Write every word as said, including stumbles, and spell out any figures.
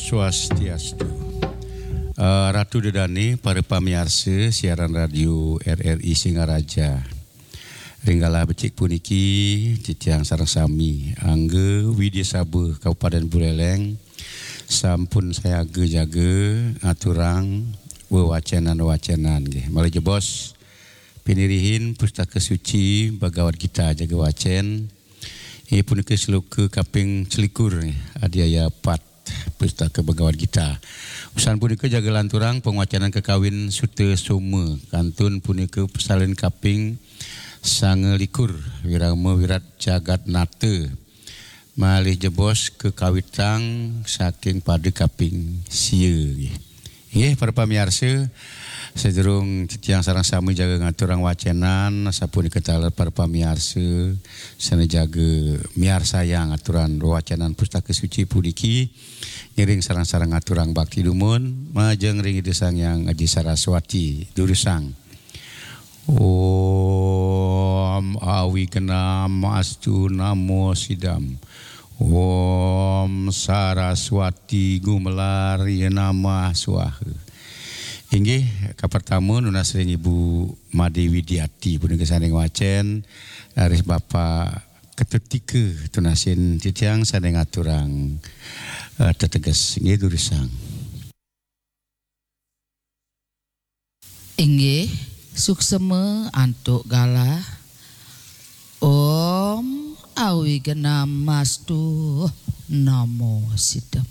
Swastiastu. Eh, Ratu Dedane, para pamiarsa siaran radio R R I Singaraja. Ring galah becik puniki, titiang sareng sami, Angga Widya Saba, Kabupaten Buleleng, sampun sayaga jaga ngaturang wewacenan-wewacenan nggih. Malih jebos pinirihin Pustaka Suci Bhagavad Gita jaga wacen. Inggih punika sloka kaping selikur, nggih, adiaya pat Pustaka Bhagavad Gita. Usan punika jaga lanturang pangwacenan kakawin Suta Soma. Kantun punika pasalin kaping sangalikur, Wirama Wirat Jagatnata. Malih jebos kakawitang saking pada kaping sia, nggih. Nggih, para pamiarsa, sadurung titiang sareng sami jaga ngaturang wacenan, sapunika taler para pamiarsa sane jaga miarsayang aturan wacenan Pustaka Suci puniki, ngiring sareng-sareng ngaturang bakti dumun majeng ring Ida Sang Hyang Aji Saraswati. Durusang. Om Awignam Astu Namo Sidam. Om Saraswati Gumelar Ya Namah Swaha. Inggih, kapertama nunas ring Ibu Made Widiati punika sane ngwacen, raris Bapak Ketut Tika tunasin titiang sane ngaturang, eh, teteges. Inggih, durusang. Inggih, suksema antuk galah. Om Awignam Astu Namo Sidam.